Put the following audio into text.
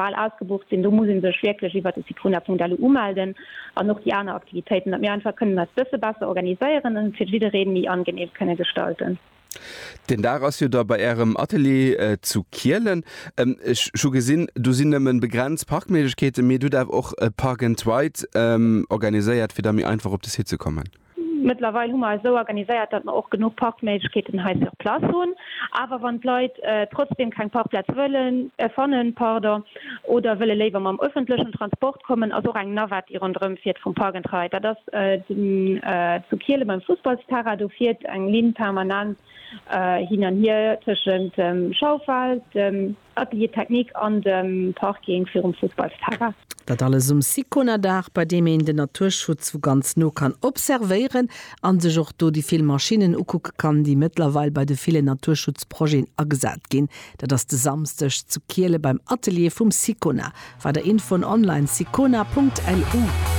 bal ausgebucht sinn. Do muss ee sech wierklech iwwert de sicona.lu umelden an och déi aner Aktivitéiten, datt mir einfach kënnen eis bësse besser organiséieren an et fir jiddereen méi angenehm kënne gestalten. Den Dag ass jo da bei Ärem Atelier zu Kielen. Ech hu gesinn, do sinn nëmmen begrenzt Parkméiglechkeeten, mee et hutt awer och e Park and Ride organiséiert, fir da méi einfach op de Site ze kommen. Mëttlerweil hu mer eis esou organiséiert, datt mer och genuch Parkméiglechkeeten hei sur place hunn. Awer wann d'Leit trotzdem keng Parkplaz wëllen, fannen, pardon, oder wëlle léiwer mam öffentlechen Transport kommen, ass och eng Navette, déi ronderëm fiert vum Park and Ride. Dat ass zu Kiele beim Fussballsterrain. Do fiert eng Linn permanent hin an hier tëschent dem Schaufeld, dem Atelier Technique an dem Parking virum Fussballsterrain. Dat alles um Sicona-Dag, bei deem een den Naturschutz vu ganz no kann observéieren an sech och do déi vill Maschinnen ukucke kann, déi mëttlerweil bei de villen Naturschutzprojeten agesat ginn. Dat ass de Samsdeg zu Kiele beim Atelier vum Sicona. Weider Infoen online sicona.lu.